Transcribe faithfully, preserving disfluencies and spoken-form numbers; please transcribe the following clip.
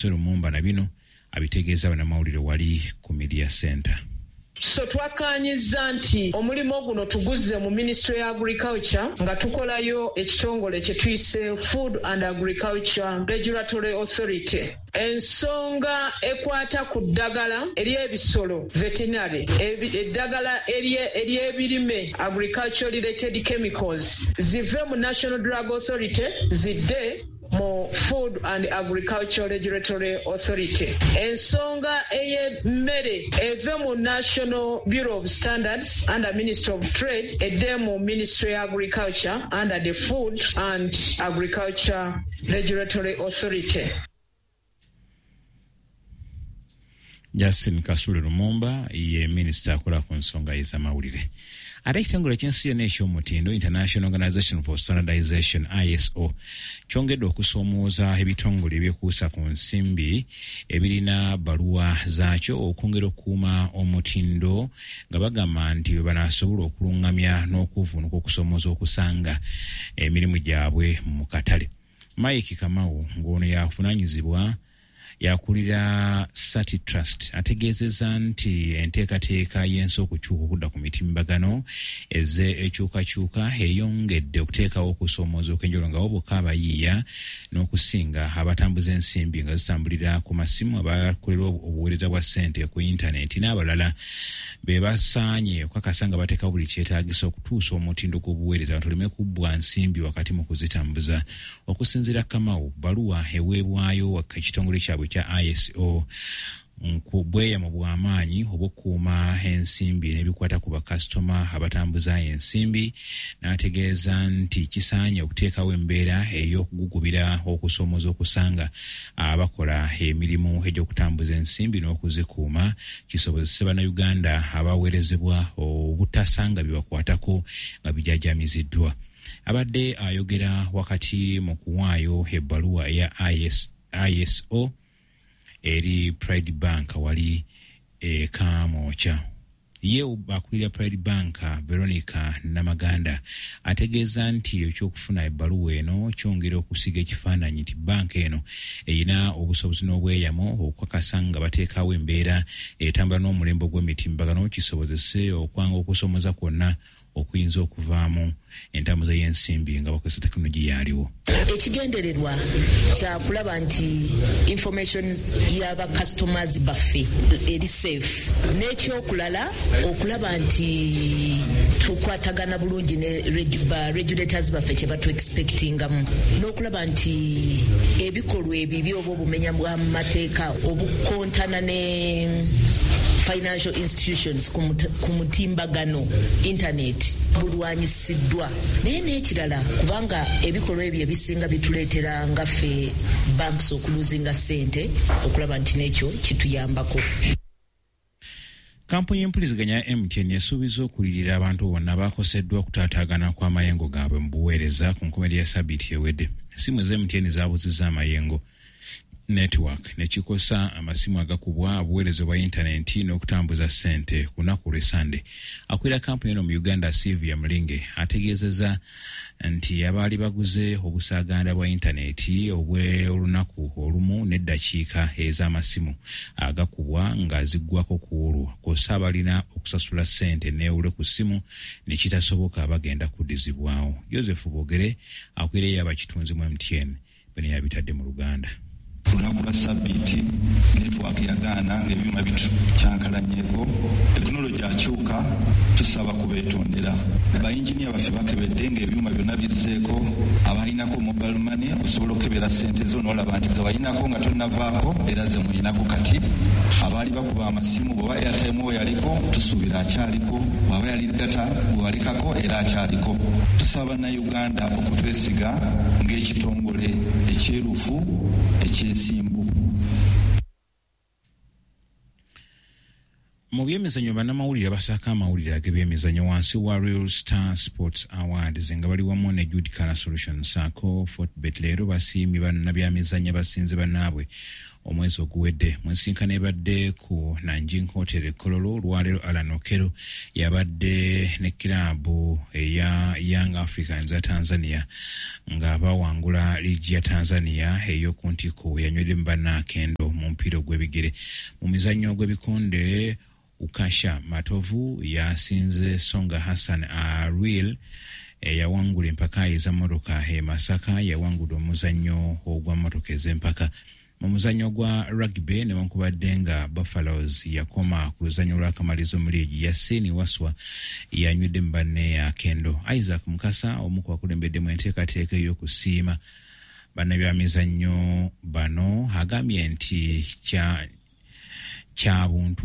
Lumumba na bino abitegeeza bannamawulire wali ku Media Center. So twakkaanyizza nti omulimu guno tuguzze mu Ministry ya Agriculture nga tukolayo ekitongole kye tuyise Food and Agriculture Regulatory Authority. Ensonga ekwata ku ddagala ery'ebisolo veterinary, eddagala ery'ebirime agriculture related chemicals zive mu National Drug Authority zidde mu Food and Agriculture Regulatory Authority. Ensonga ey'emmere eve mu National Bureau of Standards under Ministry of Trade edde mu Ministry of Agriculture under the Food and Agriculture Regulatory Authority. Justin Kasule Lumumba ye minisita akola ku nsonga ez'amawulire. Ate ekitongole ky'ensi yonna eky'omutindo International Organization for Standardization I S O kyongedde okusoomooza ebitongole ebyekuusa ku nsimbi ebirina bbaluwa zaakyo okwongera okukuuma omutindo nga bagamba nti bwe banaasobola okulungamya n'okuvvuunuka okusoomooza okusanga emirimu gyabwe mu katale. Mike Kamau ng'ono yavunaanyizibwa yakulira Sati Trust ategeezezza nti enteekateeka y'ensi okukyuka okudda ku mitimbagano eze ekyukakyuka eyongedde okuteekawo okusoomooza okw'enjawulo nga bo bokka abayiiya n'okusinga abatambuza ensimbi nga zitambulira ku masimu, abakolera obuweereza bwa ssente ku yintaneti n'abalala be basaanye okukakasa nga bateekawo buli kyetaagisa okutuusa omutindo gw'obuweereza abantu baleme kubbwa nsimbi wakati mu kuzitambuza. Okusinziira Kamau, bbaluwa eweebwayo ekitongole kyabwe kya I S O bweyamo bw'amaanyi obw'okukuuma ensimbi n'ebikwata ku bakasitoma abatambuza ensimbi, n'ategeeza nti kisaanye okuteekawo embeera ey'okugugubira okusoomooza okusanga abakola emirimu egy'okutambuza ensimbi n'okuzikuuma kisobozese Bannayuganda abaweerezebwa obutasanga bye bakwatako nga bijajamiziddwa. Abadde ayogera wakati mu kuwaayo ebbaluwa eya I S O eri Pride Bank wali e Kamwokya. Ye akulira Pride Bank Veronica Namaganda ategeeza nti ekyokufuna ebbaluwa eno kyongera okusiga ekifaananyi nti banka eno erina obusobozi n'obweyamo okukakasa nga bateekawo embeera etambula n'omulembe gw'emitimbagano kisobozese okwanga okusoomoza kwonna okuyinza okuvaamu entambuza y'ensimbi nga bakozesa tekinologiya aliwo. Ekigendererwa kya kulaba nti information y'aba customers baffe eri safe, n'ekyokulala okulaba nti tukwatagana bulungi ne ba regulators baffe kye batu expectingamu, n'okulaba nti ebikolwa ebibi oba obumenya bw'amateeka obukontana ne financial institutions ku mutimbagano internet bulwanyisiddwa. Naye n'ekirala, kubanga ebikolwa ebyo ebisinga bituleetera nga ffe banks okuluzinga ssente, okulaba nti n'ekyo kituyambako. Kampuni y'empuliziganya ya M T N esuubiza okulirira abantu bonna abakoseddwa okutaataagana kw'amayengo gaabwe mu buweereza ku nkomerero ya sabbiiti ewedde. Essimu za M T N zaabuzizza amayengo network ne kikosa amasimu agakubwa, obuweereza bwa yintaneti n'okutambuza ssente ku lunaku lw'Essande. Akulira kampuni eno mu Uganda Sylvia Mulinge ategeezezza nti abaali baguze obusaaganda bwa yintaneti obw'olunaku olumu n'eddakiika ez'amasimu agakubwa nga ziggwako ku olwo, kw'ossa abalina okusasula ssente neewule ku ssimu ne kitasoboka bagenda kuddizibwawo. Joseph Bogere akulira abakitunzi mu M T N bino yabitadde mu Luganda. Olunaku lwa sabbiiti network yagaana ng'ebyuma bitukyankalanyeko, tekinologi akyuka, tusaba kubeetondera. Bayinginiya baffe bakebedde ng'ebyuma byonna bizzeeko, abalinako mobile money osobola okukebera ssente zo n'olaba nti ze walinako nga tonnavaako era ze mulinako kati. Abaali bakuba amasimu bw'oba airtime we yaliko tusuubira akyaliko, bw'aba yali data gwe walikako era akyaliko. Tusaba Bannayuganda okutwesiga ng'ekitongole ekyerufu ekyesimbu. Mu byemizannyo, bannamawulire basaako amawulire ag'ebyemizannyo wansi wa Real Star Sports Awards nga bali wamu ne Jude Color Solutions saako Fortebet leero basiimye bannabyamizannyo basinze bannaabwe omwezi oguwedde. Mu nsinkano ebadde ku Nanjing Hotel e Kololo olwaleero, Allan Okello yabadde ne kiraabu eya Young Africans ya Tanzania nga bawangula liigi ya Tanzania ey'oku ntikko. Yanyweddemu bannakendo mu mupiira ogw'ebigere. Mu mizannyo gw'ebikonde, Ukasha Matovu yasinze Songa Hassan Arwil eyawangula empaka ez'emmotoka e Masaka. Yawangudde omuzannyo ogwa mmotoka ez'empaka. Mu muzannyo gwa rugby, newankubadde nga Buffaloes yakoma ku luzannyo lw'akamalizo mu liigi, Yasini Waswa yanywedde mu banne akendo. Isaac Mukasa, omu ku bakulembeddemu enteekateeka ey'okusiima bannabyamizannyo bano, agambye nti kya kya buntu.